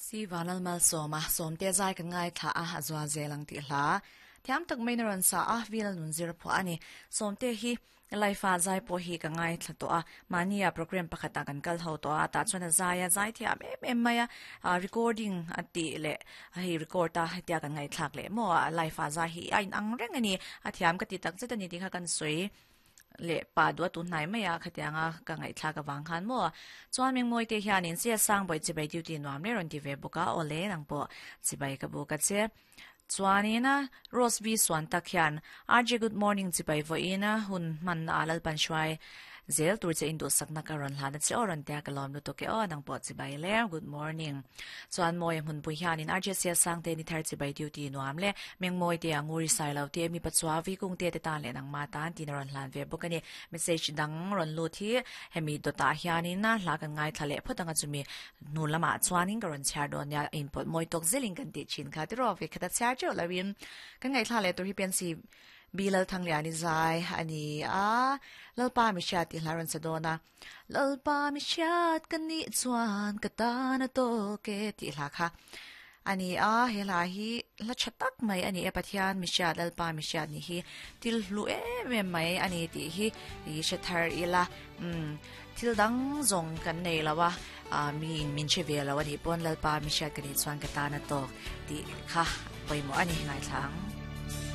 Si Vanal Malsawma, Sawmte zai kan ngaithla a, a zual zel ang tih hla. Thiam tak maiin a rawn sa a, Vila nun zir phuah a ni. Sawmte hi life ah zai pawh hi ka ngaithla tawh a, mahni ah program pakhat ah kan kal ho tawh a, tah chuan a zai a, zai thiam em em mai a, recording a tih leh hei record a hetia kan ngaihthlak leh maw a life ah zai hi a inang reng a ni, a thiam ka ti tak zet a ni tih kha kan sawi. leh pa duh a tu hnai mai a khatianga ka ngaihthlak avang khan maw chuan Mengmawi te hianin che sang bawih chibai duty nuam reng rawn ti ve bawk a awle nang pawh chibai ka buk a che chuanin a Rose V suan tak hian RJ good morning chibai vawiin a hun hman a Lalpan hruai zel tur che induhsakna ka rawn hlan a che aw rawn tia ka lawm lutuk e aw nang pawh chibai le good morning Chuan Mawia hmunpui hianin RJCL Sangte ni thar chibai duty nuam leh Mengmawi te a Nguri Sailo te mi Pachuau Vikung te te tan leh nangmah tan tiin a rawn hlan ve bawk a ni. Message dang rawn lut hi hemi dawtah hianin hla kan ngaithla leh phawt anga chumi hnu lamah chuanin ka rawn chhiar dawn nia a inpawlh mawi tawk zelin kan tih thin kha tiraw ve khat a chhiar teuh loin kan ngaithla leh tur hi Pensi Bilalthangliani zai a ni a Lalpa Mihriat tih hla rawn sa dawn a. Lalpa mi hriat ka nih chuan ka tan a tawk e tih hla kha a ni a, he hla hi hla tha tak mai a ni e, Pathian mi hriat Lalpa mi hriat nih hi thil hlu em em mai a ni tih hi i hre thar ila umm thil dang zawng kan nei lo a, ah mi in min hre ve lo a nih pawn Lalpa mi hriat ka nih chuan ka tan a tawk tih kha pawimawh a ni ngaithla ang.